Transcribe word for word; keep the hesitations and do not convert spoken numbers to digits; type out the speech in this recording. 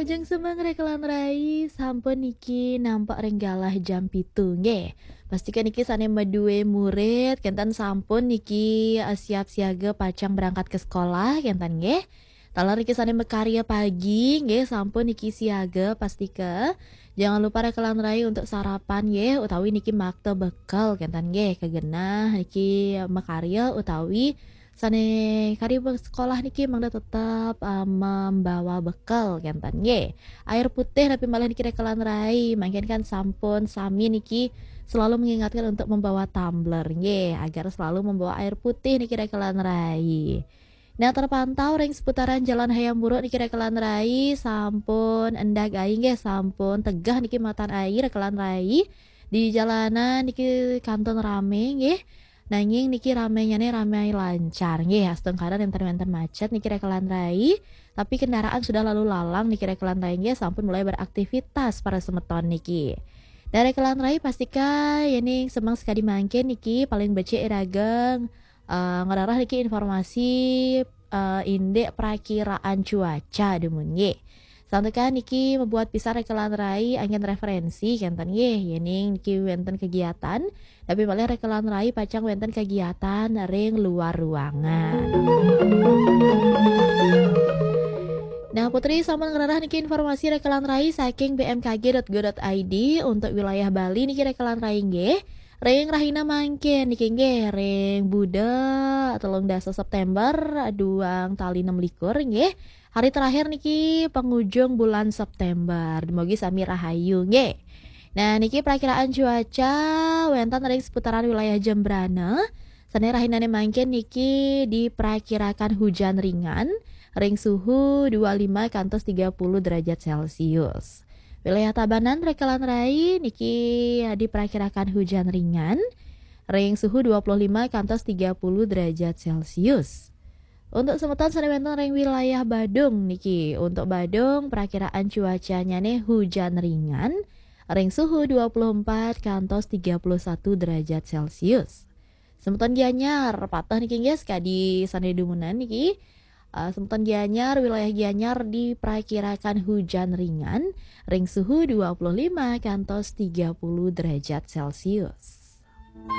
Ajeng semeng rekelan rai, sampun niki nampak ring galah jam pitu nggih. Pastikan niki sane madue murid kenten sampun niki, eh, siap siaga pacang berangkat ke sekolah kenten nggih. Taler niki sane makarya pagi nggih, sampun niki siaga pastika. Jangan lupa rekelan rai untuk sarapan nggih, utawi niki makta bekal kenten nggih, kagenah niki makarya utawi sane kari be-, sekolah niki mangda tetep, eh, membawa bekal kenten nggih. Air putih napi malih niki rekelan rai, mangkin kan sampun sami niki selalu mengingatkan untuk membawa tumbler nggih, agar selalu membawa air putih niki rekelan rai. Nah, terpantau ring seputaran Jalan Hayam Wuruk niki rekelan rai, sampun endag ai nggih, sampun tegah niki matan ai rekelan rai. Di jalanan niki kantun rame nggih. Nanging niki ramenyane rame lancar nggih, astungkara nenten wenten macet niki rekelan rai, tapi kendaraan sudah lalu lalang niki rekelan rai nggih, sampun mulai beraktivitas para semeton niki. Nah, rekelan rai pastika yening semeng sekadi mangkin niki paling becik iraga, eh, ngrereh niki informasi, eh, indik prakiraan cuaca dumun nggih. Santukan niki mabuat pisan rekelan rai anggen referensi kenten nggih, yening niki wenten kegiatan, tapi malih rekelan rai pacang wenten kegiatan ring luar ruangan. Nah, Putri sampun ngrereh niki informasi rekelan rai saking B M K G dot go dot I D untuk wilayah Bali niki rekelan rai nggih. Ring rahina mangkin niki nggih, ring Buda telung dasa September, duang tali enam likur nggih. Hari terakhir niki penghujung bulan September. Dumugi sami rahayu nggih. Nah, niki perakiraan cuaca wenten ring seputaran wilayah Jembrana. Sane rahinane mangkin niki diperakirakan hujan ringan ring suhu dua lima kantos tiga puluh derajat Celcius. Wilayah Tabanan rekelan rai niki diperakirakan hujan ringan ring suhu dua puluh lima kantos tiga puluh derajat Celcius. Untuk semeton sane wenten ring wilayah Badung niki, untuk Badung perakiraan cuacanyane hujan ringan ring suhu dua puluh empat kantos tiga puluh satu derajat Celcius. Semeton Gianyar pateh niki nggih, sekadi sane dumunan niki. Eh, semeton Gianyar, wilayah Gianyar diperakirakan hujan ringan ring suhu dua puluh lima kantos tiga puluh derajat Celcius.